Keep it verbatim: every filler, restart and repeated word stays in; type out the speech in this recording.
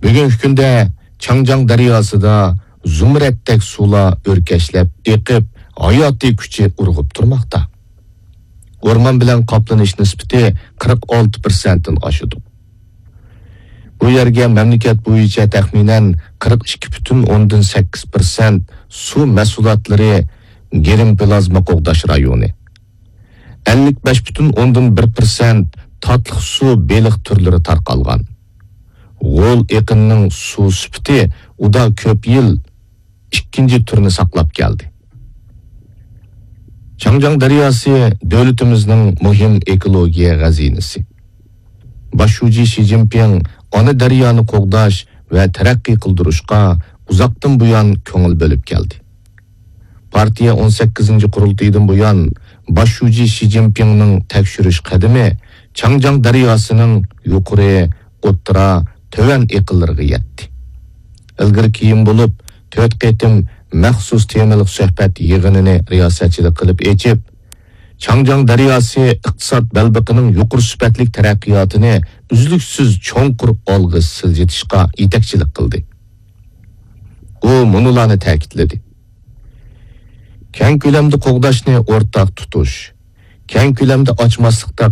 بۈگۈنكى كۈندە چاڭجياڭ دەرياسىدا زۇمرەتتەك سۇلار ئۆركەشلەپ ئېقىپ، ھاياتىي كۈچى ئۇرغۇپ تۇرماقتا. ئورمان بىلەن قاپلىنىش نىسبىتى قىرىق ئالتە پىرسەنتتىن ئاشىدۇ. بۇ يەرگە مەملىكەت بويىچە تەخمىنەن قىرىق ئىككى پۈتۈن ئوندىن سەككىز پىرسەنت سۇ مەھسۇلاتلىرى، گىرىم پلازما قوغداش رايونى، ئەللىك بەش پۈتۈن ئوندىن بىر پىرسەنت تاتلىق سۇ بېلىق تۈرلىرى تارقالغان. غول ئېقىننىڭ سۇ سۈپىتى ئۇدا كۆپ يىل ئىككىنچى تۈرنى ساقلاپ كەلدى. چاڭجياڭ دەرياسى دۆلىتىمىزنىڭ مۇھىم ئېكولوگىيە خەزىنىسى. باش شۇجى شى جىنپىڭ ئانا دەريانى قوغداش ۋە تەرەققىي قىلدۇرۇشقا ئۇزاقتىن بۇيان كۆڭۈل بۆلۈپ كەلدى. پارتىيە ئون سەككىزىنچى قۇرۇلتىيىدىن بۇيان باش شۇجى شى جىنپىڭنىڭ تەكشۈرۈش قەدىمى چاڭجياڭ دەرياسىنىڭ يۇقىرى، ئوتتۇرا، تۆۋەن ئېقىنلىرىغا يەتتى. ئىلگىرى كېيىن بولۇپ تۆت قېتىم مەخسۇس تېمىلىق سۆھبەت يىغىنىنى رىياسەتچىلىك قىلىپ ئېچىپ، چاڭجياڭ دەرياسى ئىقتىساد بەلبېقىنىڭ يۇقىرى سۈپەتلىك تەرەققىياتىنى ئۈزلۈكسىز چوڭقۇر ئالغا سىلجىتىشقا يېتەكچىلىك قىلدى. ئۇ مۇنۇلارنى تەكىتلىدى: كەڭ كۆلەمدە قوغداشنى ئورتاق تۇتۇش، كەڭ كۆلەمدە ئاچماسلىقتا